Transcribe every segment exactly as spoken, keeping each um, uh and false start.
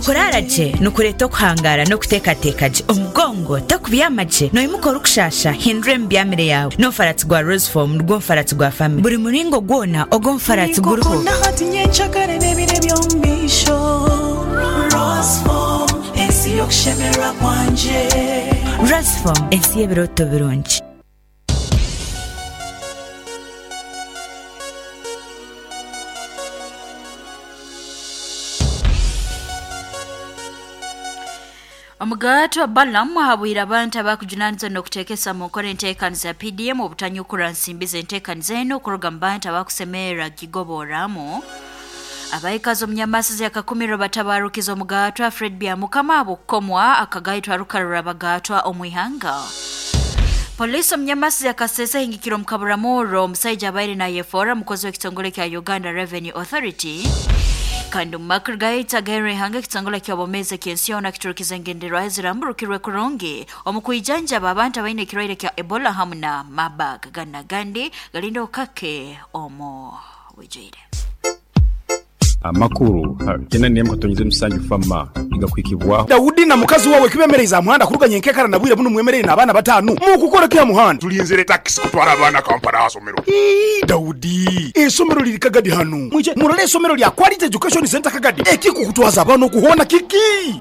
Okurara gye nikureeta okuhangara n'okuteekateeka gye. Omugongo tokubyama gye noimuka orikushasha hindura emibyamire yawe. N'omufaratsi gwa Roseform nigwo mufaratsi gwa family. Buri muringo gwona ogw'omufaratsi guriho. Ninkukunda hati nyencakare n'ebiro eby'omu maisho. Roseform, ensi y'okushemererwa kwangye. Roseform, ensi y'ebirooto birungi. Omugato Balaam ahabwire abantu abakujunanizwa n'okuteekesa mu nkora enteekaniza ya P D M obutanyukura nsimbi z'enteekaniza enu kuruga mu bantu abakusemerra gigoboramu. Abaikazi omunyamasizi akakumirwa batabarukiza omugatwa Fred Byamukama abukomwa akagaitwa rukarura abagatwa omwihanga. Polisi omunyamasizi akasesa hingikiro omukaburamuro omusaija abaire nayefora mukozi w'ekitongole kya Uganda Revenue Authority. Kandi omumakuru gaita gaherwa ihanga, ekitongole ky'obomezi eky'ensi yoona kiturukiza engenderwaho eziramburukirwe kurungi omu kwijanjaba abantu abaine ekirwaire kya Ebola hamu na Marburg. Gana gandi galinda okake omu bwijwire. Amakuru kyenda n'emwe katonyize musanju fama igakwikibwaho. Dawudi na mukazi wawe kibemereza muhanda kuruganya enkekara na bwire buno mwemerere n'abaana batanu mukukora kya muhanda. Tulinzire takisi kutwara abaana Kampala asomero. Ii, Dawudi, esomero liri Kagadi hano mwije murole esomero lya Quality Education Center Kagadi ekikukutwaza abaana okuhona kiki.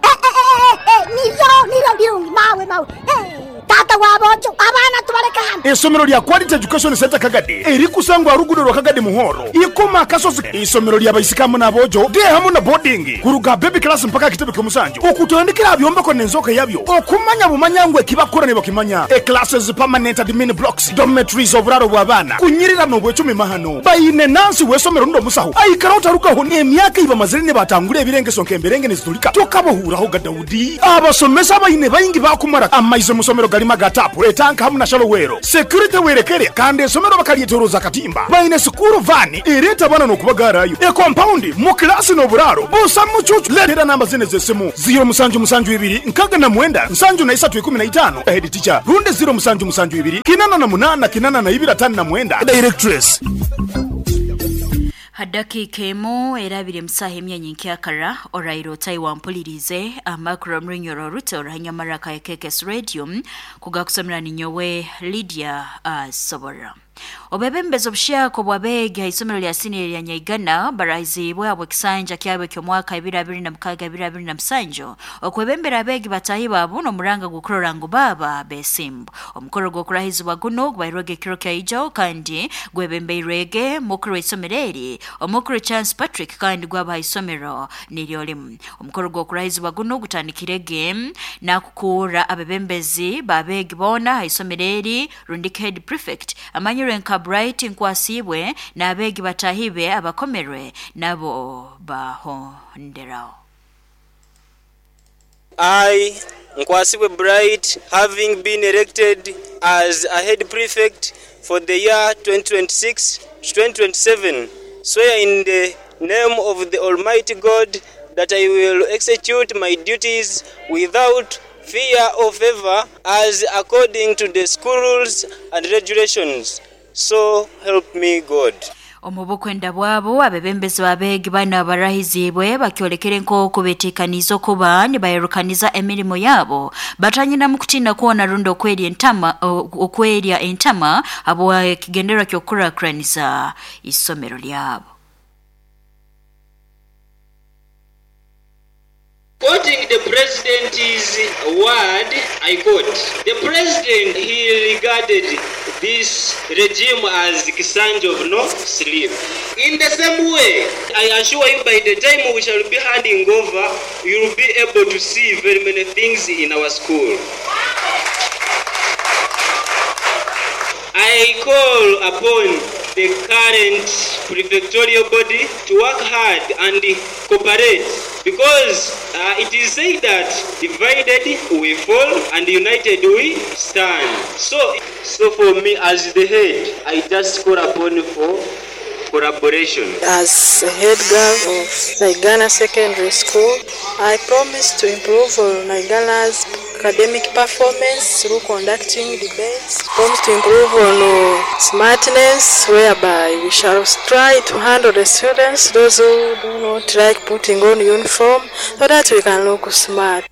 Niryo niryo birungi mawe mawe. Eh, tata wabojo abaana tubaleka hano. Esomero lya Quality Education Center Kagadi erikusangwa rugudo rwa Kagadi Muhoro ikoma akasozi. Isomero lya baisikamu n'abojo de hamu na boarding kuruga baby class mpaka kitebe ky'omusanju okutandikira byombeko n'enzoka yabyo okumanya bumanya ngwe kibakora ne bakimanya. E classes, permanent admin blocks, dormitories, oburaro bw'abaana kunyirira n'obwecumi mahano bayine nansi w'esomero ndo musaho aikara utarukaho emyaka ibamazire ne batangura ebirengeso nk'emberenge nezitulika tokabohuraho ga Dawudi. Abasomesa bayine bayingi bakumara amaize musomero galima gatapu etanka hamu na shalowero security werekere kandi esomero bakalyetoroza katimba bayine school van ereta bana n'okubagarayo e compound mu klasi n'oburaro busa mucucu. Letera namba zine z'esimu ziro musanju musanju ibiri nkaga na mwenda nsanju na isatu ikumi na itano head teacher runde ziro musanju musanju ibiri kinana na munana kinana na ibiri atano na mwenda directress. Hadakika emu erabire musaha emyanya nkyakara orairo otayi wampulirize amakuru omurunyoro oruto orahanyamara ka K K S Radio kugakusomera ninyowe Lydia uh, Sobora. Obebembezi obushako bw'abeegi ha isomero lya siniya lya Nyaigana barahizibwe abo ekisanja kyabo eky'omwaka ebiri abiri na mukaaga ebiri abiri na musanju okwebembera abeegi batahi baabo n'omuranga gw'okurora ngu baaba besimbu. Omukoro gw'okurahizibwa guno gubairwege ekiro kyaijo kandi gwebembeirwege mukuru w'isomero eri omukuru Chance Patrick kandi gwaba ha isomero niryo limu. Omukoro gw'okurahizibwa guno gutandikirege nakukuura abebembezi babeegi boona ha isomero eri rundi head prefect amanyirwe nka Bright Nkwasibwe n'abeegi batahibe abakomerwe nabo bahonderaho. I, Nkwasibwe Bright, having been elected as a head prefect for the year twenty twenty-six twenty twenty-seven, swear in the name of the Almighty God that I will execute my duties without fear or favor as according to the school rules and regulations. So help me God. Omu bukwenda bwabo abebembezi b'abeegi bano abarahizibwe bakyolekere nk'oku beteekaniize okuba nibayerukaniza emirimo yabo batanyina mu kutiina kwona rundi okwerya entama okwerya entama habwa ekigendererwa ky'okukurakuraniza isomero lyabo. Quoting the president's word, I quote, "The president, he regarded this regime as Kisanja of no sleep. In the same way, I assure you by the time we shall be handing over, you will be able to see very many things in our school. I call upon the current prefectorial body to work hard and cooperate because uh, it is said that divided we fall and united we stand. So, so for me as the head, I just call upon for collaboration." As a head girl of Naigana Secondary School, I promise to improve on Naigana's academic performance through conducting debates, forms to improve on uh, smartness, whereby we shall try to handle the students, those who do not like putting on uniform, so that we can look smart.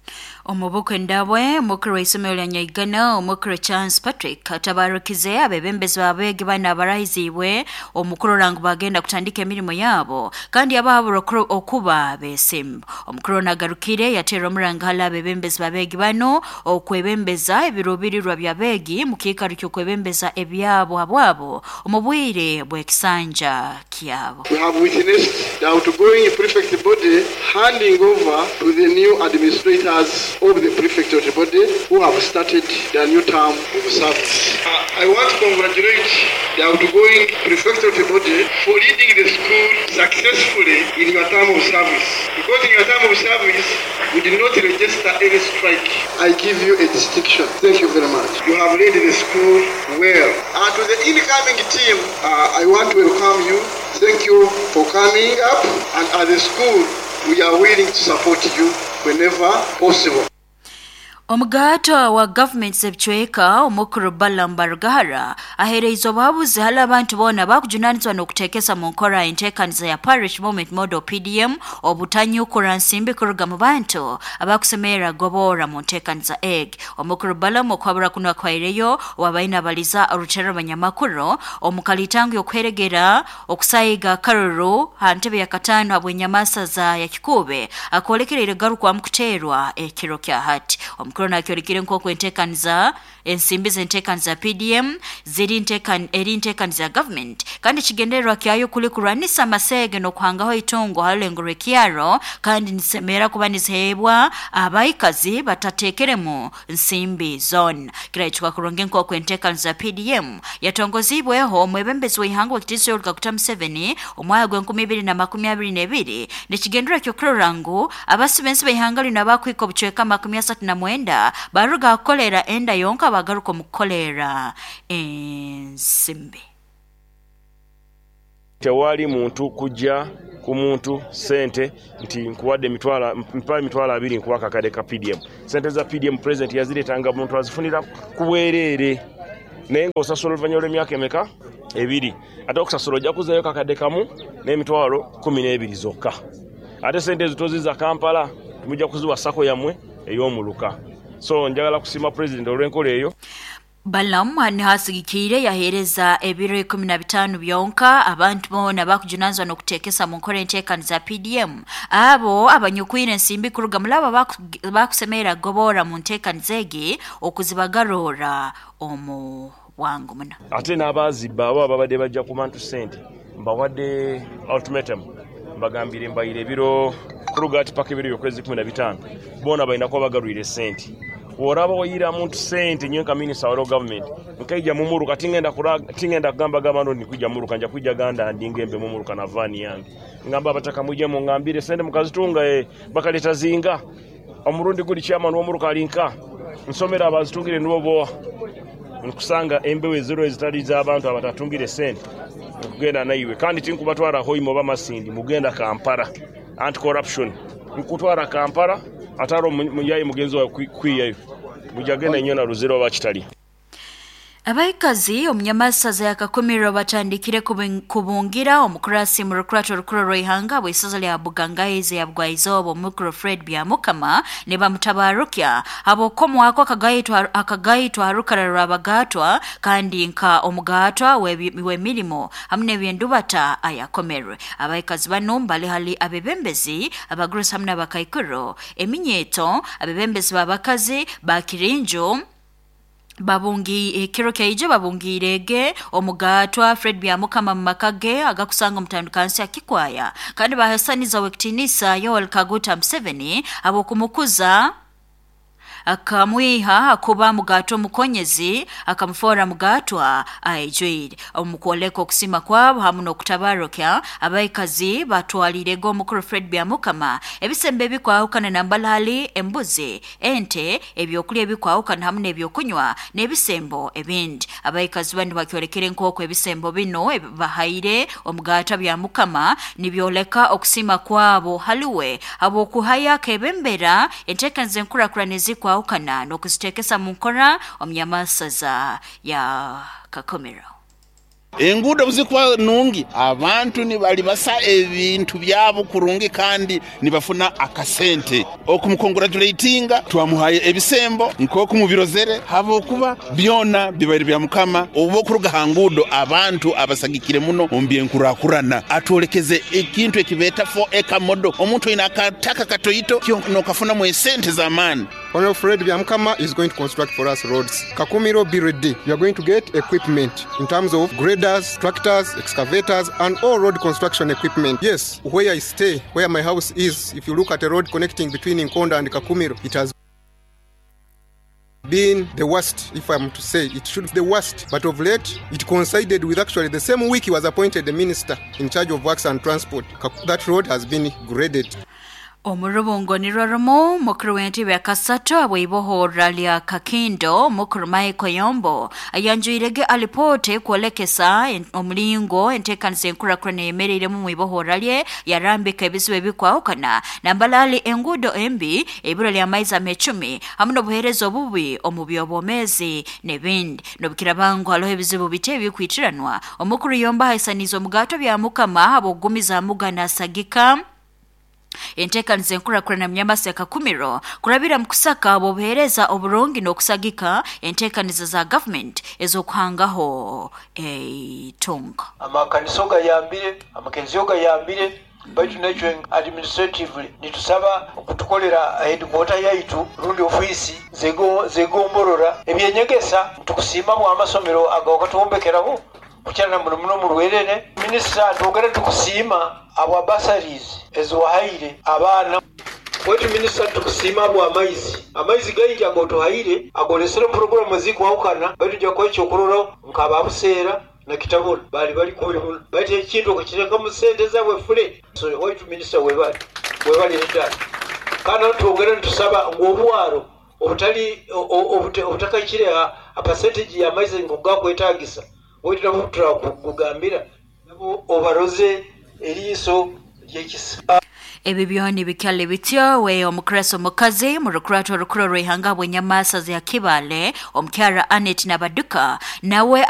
Omubuko ndabwe mukuru w'isomero lya Nyaigana omukuru Chance Patrick atabarukize abebembezi babege bana abarahizibwe omukuru rangu bagenda kutandika emirimo yabo kandi abahabura okuba besimba. Omukuru nagarukire yatera omuranga hala abebembezi babege bano okwebembeza ebirubirirwa byabegi mukikaro ky'okwebembeza ebyabo habwabo omubwire bw'ekisanja kyabo. We have witnessed the outgoing prefect body handing over to the new administrators of the prefecture body who have started their new term of service. Uh, I want to congratulate the outgoing prefecture body for leading the school successfully in your term of service. Because in your term of service, we did not register any strike. I give you a distinction. Thank you very much. You have led the school well. And to the incoming team, uh, I want to welcome you. Thank you for coming up. And as a school, we are willing to support you whenever possible. Omugato wa government z'ebicweka omukuru Balaam Barugahara aheereize obuhabuzi hali abantu boona bakujunanizibwa n'okuteekesa mu nkora enteekaniza ya Parish Moment Model P D M obutanyukura nsimbi kuruga mu bantu abakusemerera goboora mu nteekaniza egi. Omukuru Balaam okwabura kuno akwaireyo wabaine abaliza orutero abanyamakuru omukalitango y'okuheregera okusayiga akaruru ha ntebe ya kataano habw'enyamasaza ya Kikuube akolekereire garukwamu kuteerwa ekiro kya hati. Omukuru akyorekire nk'oku enteekaniza ensimbi z'enteekaniza P D M ziri ntekan eri nteekaniza government kandi kigendererwa kyayo kuli kurwanisa amasege n'okuhangaho itungo halengo rw'ekyaro kandi nisemera kuba nizihebwa abaikazi batateekeremu nsimbi zona. Kiraichuka kurungi nk'oku enteekaniza P D M yatongozibweho omwebembezi w'ihanga w'ekitiinisa Yoweri Kaguta Museveni omwaka gw'enkumi ibiri na makumi abiri n'ebiri nikigendererwa ky'okurora ngu abasibensi b'ihanga lino abakwika obucweka makumi asatu na mwenda baruga kukolera enda yonka bagaruka mu kukolera ensimbi. Tewali muntu kujja ku muntu sente nti nkuwadde emitwalo mpa emitwalo abiri nkuwa akakadde ka P D M. Sente za P D M president yazireetanga muntu azifunira ku bwereere naye ng'osasula oluvannyuma lw'emyaka emeka ebiri, ate okusasula ojja kuzzayo kakadde kamu n'emitwalo kumi n'ebiri zokka. Ate sente ezo toziza Kampala, mujja kuziwa SACCO yammwe ey'omuluka. So njagala kusiima president olw'enkola eyo. Balaam nihasigikire yaheereza ebiro ikumi na bitaano byonka abantu boona bakujunanizibwa n'okuteekesa mu nkora enteekaniza P D M abo abanyukwire ensimbi kuruga mulabo bakusemerera goboora mu nteekaniza egi okuzibagarora omu bwangu muno. Ate n'abaazibba abo ababadde bajja ku bantu ssente mbawadde ultimatum, mbagambire mbayire ebiro kuruga ati paka ebiro by'okwezi kumi na bitaano boona balina kuba bagarwire ssente. Woraba oyira muntu sente nyo nka minister wa government nkaija mumuruka tingenda tingenda kugamba gabano nikujja muruka nja kujja ganda ndingembe mumuruka na vani yange ngamba abataka muje mungambire sente mukazitunga eh, bakaleta zinga omurundi guli chairman w'omuruka alinka nsomera abazitungire nibo boa nkusanga embewe zero ezitali z'abantu abatatungire sente nkugenda naiwe kandi tinkubatwara hoimo bamasindi mugenda Kampala anti corruption nkutwara Kampala ataro muyayi mugenzi wa kwiyayo mujagenda nyona ruzero bakitali. Abaikazi omunyamasaza yakakumirwa batandikire kubungira omukurasi mu rukurato rukuru rw'ihanga bw'isaza lya Bugangaize ya Bugwaizobo omukuru Fred Byamukama ne bamutabarukya abokomwako akagayitwa akagayitwa rukara rwabagatwa kandi nka omugatwa w'emirimo hamwe n'ebyendubata ayakomerwe. Abaikazi bano mbali hali abebembezi abagurusi hamwe n'abakaikuro eminyeto abebembezi babakazi bakirinjo babungi ekiro kyaije babungirege omugatwa Fred Byamukama mu makage agakusanga omutandukansi akikwaya kandi bahasaniza wekitinisa Yoweri Kaguta Museveni abokumukuza akamwiha akuba mugatwa mukonyezi akamufora mugatwa aijwire. Omukwoleka okusima kwabo hamwe n'okutabarukya abaikazi batwalirego omukuru Fred Byamukama ebisembe ebikwahukana na mbalali embuzi ente ebyokulya ebikwahukana hamwe n'ebyokunywa n'ebisembo ebindi. Abaikazi bandi bakyolekere nk'oku ebisembo bino bahaire omugatwa Byamukama nibyoleka okusima kwabo haliwe abokuhaya akebembera enteekaniza enkurakurana ezikwa ezikwahukana n'okuzitekesa mu nkora omunyamasaza ya Kakumiro. Enguudo buzikuba nungi, abantu nibalibasa ebintu byabo kurungi kandi nibafuna akasente. Okumukongratulatinga twamuhaye ebisembo nk'okumubirozere, habwokuba byona bibaire bya mukama. Obu okuruga ha nguudo abantu abasagikire muno omu byenkurakurana, atwolekeze ekintu ekibeeta four acre model. Omuntu oine akataka katoito nokafunamu esente z'amaani. Honorable Fred Byamukama is going to construct for us roads. Kakumiro, be ready. You are going to get equipment in terms of graders, tractors, excavators, and all road construction equipment. Yes, where I stay, where my house is, if you look at a road connecting between Nkonda and Kakumiro, it has been the worst, if I'm to say. It should be the worst. But of late, it coincided with actually the same week he was appointed the minister in charge of works and transport. That road has been graded. Omurubungo ni rwarumu mukuru w'entebe ya kasatu abw'ibohora lya Kakindo mukuru Michael Yombo ayanjuirege alipote kwolekesa omulingo enteekaniza enkurakurana eyemereiremu mu ibohora lye yarambika ebizibu ebikwahukana nambalali enguudo embi, ebura ly'amaizi amecumi hamwe n'obuheereza obubi omu by'obwomeezi n'ebindi. N'obukirabangu hariho ebizibu bite ebikwitiranwa. Omukuru Yombo ahaisaniize omugato bya mukama habw'okugumiza mugana asagika enteekaniza enkurakurana munyamasi ya Kakumiro kurabira mu kusaka obuheereza oburungi n'okusagika enteekaniza za government ez'okuhangaho eitunga. Amakanisa gayambire, amakenziyo gayambire, baitu nekyo administratively nitusaba okutukolera headquarter yaitu rundi ofisi zego zegomborora ebyenyegesa. Tukusiima bwa amasomero agawakatuwombekeraho kukyana muno muno mu Rwerere. Minisita twogera tukusiima abwa bursaries eziwahaire abaana wetu. Minisita tukusiima abwa amaizi, amaizi gaingi agotuhaire agolesere programu zikwahukana, baitu nja kuha ekyokurorraho nk'ababuseera na Kitabura bali bali kubi muno, baitu ekintu okukirekamu sente zabwe fule. So waitu minisita webali webali ddala. Kandi twogera nitusaba ngu obwaro obutali obutakakire a percentage y'amaizi nkugakwetagisa, waitu nabo turakugambira nabo obaroze eriiso ly'ekisa. Ebi byona bikyali bityo, we omukreso omukazi mu rukurato orukuru rw'ihanga bw'enyamaasa za Kibale omukyara Anet Nabaduka nawe